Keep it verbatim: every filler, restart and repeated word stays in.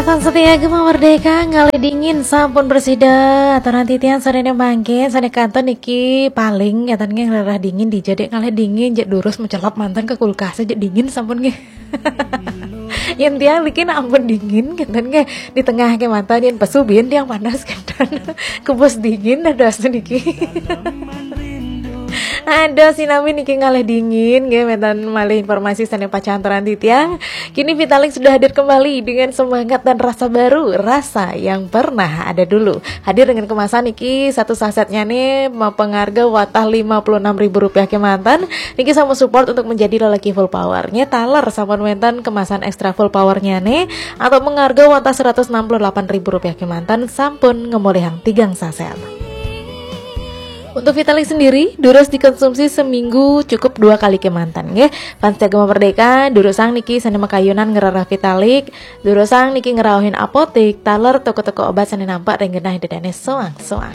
Tan setia Gema Merdeka, ngalih dingin sampun bersida. Aturan titiang sadene mangke, sane kanton niki paling ngeten nggih, ngrereh dingin dija, Dek, ngalih dingin, jek durus mecelep manten ke kulkas, jek dingin sampun nggih. Yen tiang niki nak ampun dingin ngeten nggih, di tengah kemanten, yen pesu biyen tiang panas ngeten. Kebus dingin dados niki. Ada sinami niki ngalih dingin nggih, menten malih informasi sane pacang aturan titiang. Kini Vitalik sudah hadir kembali dengan semangat dan rasa baru, rasa yang pernah ada dulu. Hadir dengan kemasan niki satu sasetnya nih, pengarga watah lima puluh enam ribu rupiah kemanten. Niki sampun support untuk menjadi lelaki full power. Nggih, taler sampun wenten kemasan ekstra full powernya nih, atau pengarga watah seratus enam puluh delapan ribu rupiah kemanten, sampun ngemolihang tigang saset. Untuk Vitalik sendiri, durus dikonsumsi seminggu cukup dua kali kemanten nggih. Fans Gema Merdeka, durusang niki sane makayunan ngrereh Vitalik, durusang niki ngrauhin apotik, taler toko-toko obat sane nampak ring genah dedane soang-soang.